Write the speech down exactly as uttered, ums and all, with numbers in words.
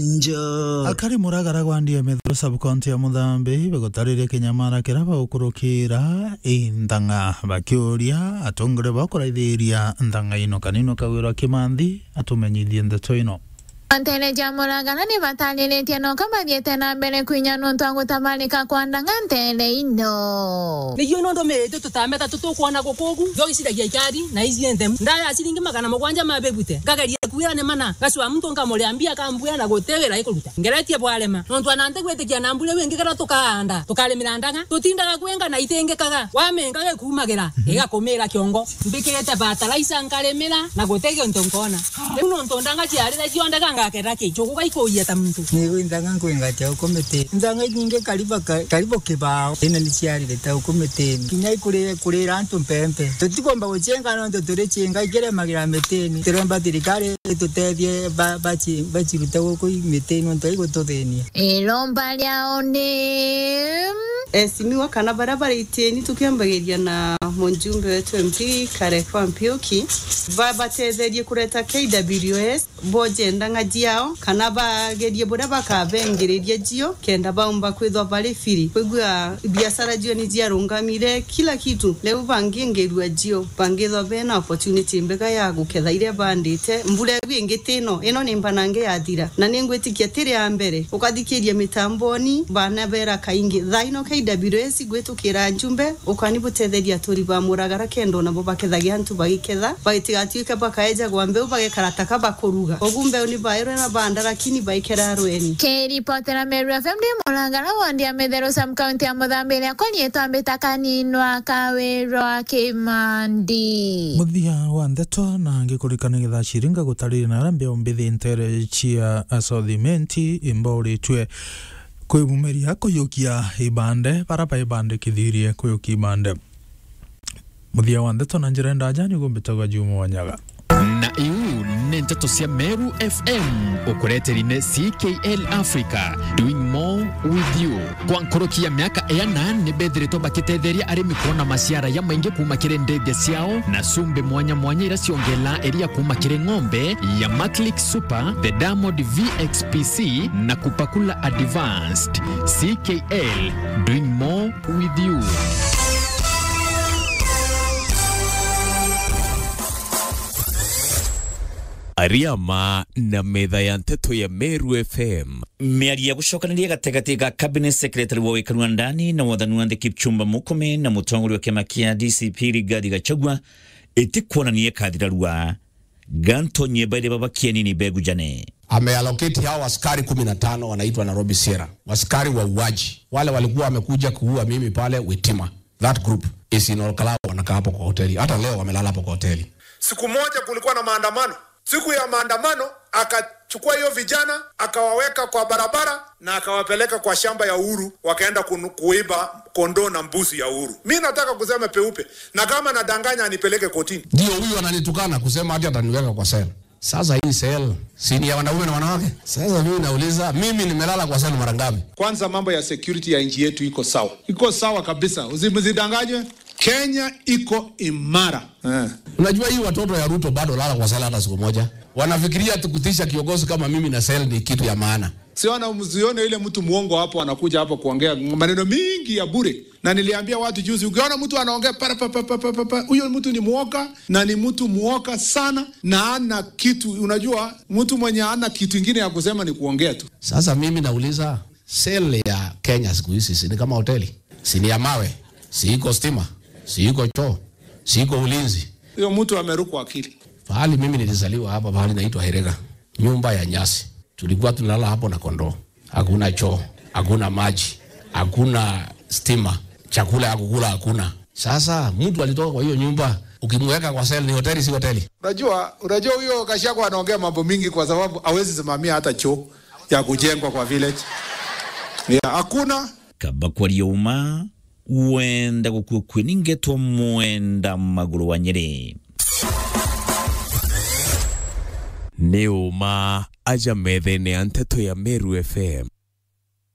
Njo. Akari Muragara gwa Ndiemethero sub-county ya Muthambi bagutariria kinyamara kiria bagukurukira i Nthang'a, bakiuria atongoria bao kuraithiria Nthang'a ino kanino kagwirwa Kimanthi atumenyithie ndeto ino. Nteere cia Muragara ni batariritie noka bathiite na mbere kwinya nontu wa gutabarika kwa Nthang'a nteere ino. Nigio nontu miritu tutameta tutukwona gukugu, jo iciragia ikari na icienthe. Ndaya ciringi magana mugwanja ma bebute. Ngageria kuira ni mana. Gacua muntu nkamuria mbia akambwira na guti wira ikuruta. Ngeretie bwarema. Nontu ana ntigwitikia na mbure wingi kara tukaanda, tukarimira Nthang'a. Tutindaga kwenga na itingikaga. Wamenga gikumagira, igakumira kiongo. Mbikirite fertilizer nkarimira na guti gintu nkona. Riu nontu Nthang'a ciarire cionde gangakera ki? Njugu gaikuuia ta muntu. Ni Nthang'a nkwenga chao kumiti. Nthang'a inyingi karibu ka-, karibu kibao. Ina ni ciarire ta uku mitini. Kinya ikurire kurira antu mpempe. Tutikwomba gucienga nontu turi cienga ikiremagira mitini. Turomba thirikari itutethie ba-, baci-, bacirute guku i mitini nontu igututhinia. Iromba riao ni Esimiwa kana baria bari itieni tukiambagiria na mujumbe wetu M P Kareko Ampiuki, babatetherie kureta K W S, boje Nthang'a ciao, kana bagerie buria bakabengiriria cio, kenda baumba kwithwa bari firi. Kwigua biashara cio ni ciarungamire, kila kitu. Riu bangingirua cio, bangithwa bena opportunity mbega ya guketha iria bandite. Mbura iu ingi tino, ino ni mbanange yathira. Na ningwitikia tiri ya mbere, ukathikiria mitamboni, bana bera kaingi. Thaa ino K W S igwitukira njumbe, ukani butetheria aturi ba Muragara kenda nabo bakethagia antu bagiketha, bagitigatwike bakaejagwa mbeu bagekara taka bakuruga. Ugu mbeu ni bairwe na banda, lakini baikera rweni. Kiripotera Meru F M ndi Muragara, wondi ya Mitheru, sub-county ya Muthambi, iria kwa riitwa Mbita Kaninwa Kawirwa Kimandi. Muthia wa ndeto na ngikurikana ngetha ciringa gutariria na aria mbeu mbithi nteere cia South Imenti imbauritue kwimumiria kuyukia ibande, bara baibandikithirie kuyukia ibande. Muthia wa ndeto na njira ndaja niguo mbitagwa Juma Wanyaga. Na iu ni nteto cia Meru F M, ukureteri ni C K L Africa, doing more with you. Kwa nkuruki ya miaka iana, ni bethiritwe bakitetheria arimi kwona maciara ya maingi kuuma kiri ndithia ciao na cumbi mwanya mwanya iria ciongelaa iria kuuma kiri ng'ombe ya Maclick Super, the Diamond V X P C na Kupakula Advanced. C K L, doing more with you. Ariama na metha ya nteto ya Meru F M. Miario ya gucokaniria gategati ga Cabinet Secretary wa wikari wa ndani na wathani wa nthi Kipchumba Murkomen na mutongoria wa kiama kia D C P Rigathi Gachagua itikwonania ikathira rua. Ganto nyeba iria baba kienini begujane. Ameallocate hao askari kumi na tano wanaitwa Nairobi Sierra. Askari wauaji. Wale walikuwa wamekuja kuua mimi pale Witima. That group is in Olkalau, wanakaa hapo kwa hoteli. Hata leo wamelala hapo kwa hoteli. Siku moja kulikuwa na maandamano. Siku ya maandamano, akachukua hiyo vijana, akawaweka kwa barabara na akawapeleka kwa shamba ya Uhuru, wakaenda kunu-, kuiba kondoo na mbuzi ya Uhuru. Mi nataka kusema peupe, na kama nadanganya, anipeleke kotini. Ndio huyu ananitukana kusema ati ataniweka kwa cell. Sasa hii cell, si ni ya wanaume na wanawake? Sasa mimi nauliza, mimi nimelala kwa cell mara ngapi? Kwanza, mambo ya security ya nchi yetu iko sawa. Iko sawa kabisa. Usi-, msidanganywe. Kenya iko imara. Eh. Unajua hii watoto ya Ruto bado lala kwa cell hata siku moja. Wanafikiria ati kutisha kiongozi kama mimi na cell ni kitu ya maana. Siona, msione ile mtu muongo hapo anakuja hapo kuongea maneno mingi ya bure. Na niliambia watu juzi, ukiona mtu anaongea para pa, pa, pa, huyo mtu ni muoga na ni mtu muoga sana na ana kitu. Unajua, mtu mwenye ana kitu ingine ya kusema ni kuongea tu. Sasa mimi nauliza, cell ya Kenya siku hizi si ni kama hoteli? Si ni ya mawe? Si iko stima? Si iko choo? Si iko ulinzi? Huyo mtu amerukwa akili. Pahali mimi nilizaliwa hapa, pahali naitwa Herega, nyumba ya nyasi. Tulikuwa tunalala hapo na kondoo. Hakuna choo, hakuna maji, hakuna stima, chakula ya kukula hakuna. Sasa mtu alitoka kwa hiyo nyumba, ukimweka kwa cell ni hoteli, si hoteli? Unajua, unajua huyo Gachagua anaongea mambo mingi kwa sababu hawezi simamia hata choo ya kujengwa kwa village. Yeah, hakuna. Kaba kwaria uma, wenda gukua kue ni ngetwa Mwenda Maguru wa Nyeri. Ni uma aja methene ya nteto ya Meru F M.